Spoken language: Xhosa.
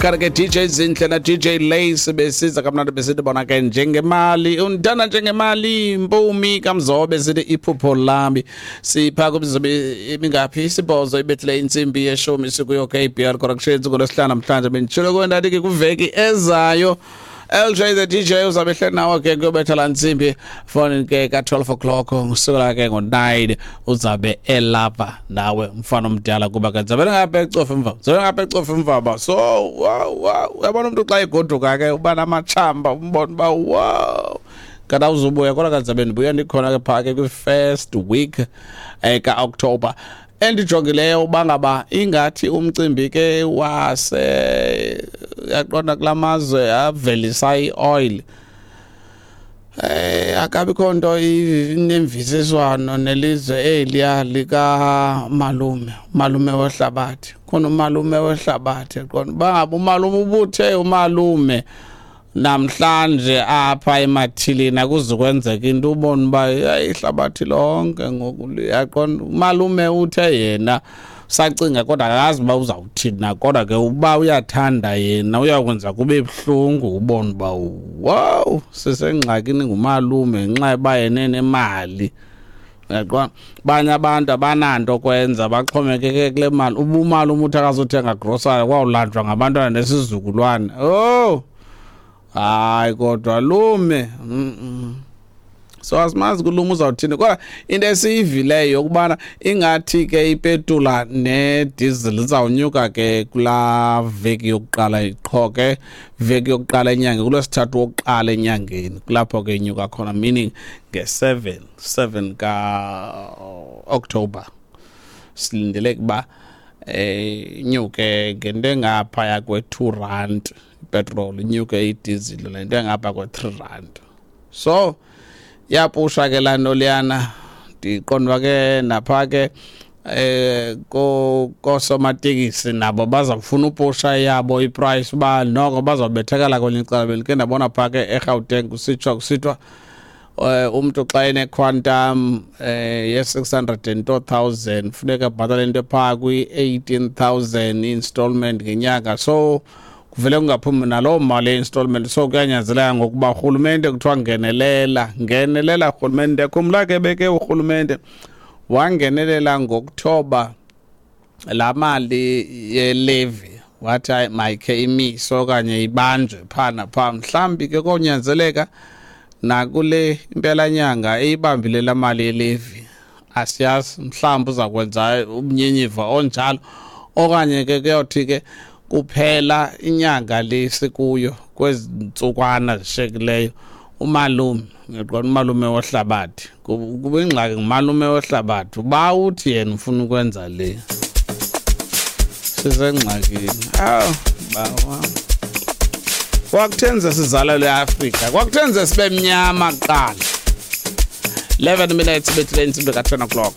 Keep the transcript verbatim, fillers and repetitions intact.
Kanti ke D J Zinhle na D J Lace besiza kamnandi, besithi bona ke "Njengemali", undana njengemali mpumi kamzobe, sithi "Iphupho Lami". Sipha kumzobe imingaphi? Isibhozo ibethile intsimbi yeshumi. Sikuyo K B R Corrections ngolwesihlanu namhlanje. Benditshilo kwendathi ke kwiveki ezayo L J the D J uzabe ehleli nawe ke kuyobetha laa ntsimbi foni ke ka-twelve o'clock. Kusukela ke ngo-nine uzabe elapha nawe, mfana omdala, kuba ke zabe ngapha ecofa emva, zabe ngapha ecofa emva. So wow wow uyabona umntu xa egoduka ke uba namatshamba, umbona uba wow, kanti awuzubuya. Kodwa kanti zabe ndibuya, ndikhona ke phaa ke kwi-first week eh, ka-October. Endijongileyo uba ngaba ingathi umcimbi ke wase yaqonda kula mazwe avelisa i-oil eh akabikho nto inemvisiswano nelizwe eliya lika malume, malume wehlabathi. Khona umalume wehlabathi, qonda uba umalume ubuthe umalume namhlanje apha emathilini akuzukwenzeka into, ubone uba ihlabathi lonke ngoku liyaqonda. Umalume uthe yena sacinga, kodwa akazi uba uzawuthini na, kodwa ke uba uyathanda yena uyakwenza kube buhlungu, ubone uba wow, sisengxakini ngumalume ngenxa yoba yena enemali. Uyaqonda, banye abantu abananto kwenza, baxhomekeke kule mali. Uba umalume uthi akazothenga grocery, kwawulanjwa ngabantwana nesizukulwane. Oh hayi, kodwa lume mm -mm. So asimazi kulume uzawuthini, kodwa into esiyivileyo yokubana ingathi ke ipetula nediesel izawunyuka ke kulaa veki yokuqala qho ke, veki yokuqala enyangeni, kulwesithathu wokuqala enyangeni, kulapho ke inyuka khona, meaning nge-seven seven ka-October silindele ukuba eh inyuke ngento engaphaya kwe-two rand ipetrol, inyuke idizili lento engapha kwe-three rand. So yapusha ke laa nto leyana. Ndiqonda ke napha ke eh ko kosomatekisi nabo bazawufuna upusha yabo iprice, uba noko bazawubethekala kwelinye icala. Bendike ndabona phaa ke eGauteng kusitsho kusithiwa eh umntu xa ene-Quantum eh ye-six hundred and two thousand funeka abhatale into phaa kwi-eighteen thousand installment ngenyanga. So kuvele kungaphumi naloo mali ye-installment, so kuyanyanzeleka ngokuba urhulumente kuthiwa ngenelela, ngenelela rhulumente. Khumbula ke beke urhulumente wangenelela ngokuthoba laa mali ye-levy, wathi hayi, mayikhe imise okanye ibanjwe phaa naphaa. Mhlawumbi ke konyanzeleka nakule impelanyanga eyibambile laa mali ye-levy, asiyazi, mhlawumbi uza kwenza umnyenyiva onjalo, okanye ke kuyothi ke kuphela inyanga le sikuyo, kwezi ntsukwana zishekileyo, umalume, ngiyaqonda umalume wohlabathi, kuba ingxaki ngumalume wohlabathi, uba uthi yena ufuna ukwenza le, sisengxakini. Awu bawa, kwakuthenze sizalelwe eAfrika, kwakuthenze sibe mnyama kuqala. eleven minutes bethile intsimbi ka-ten o'clock.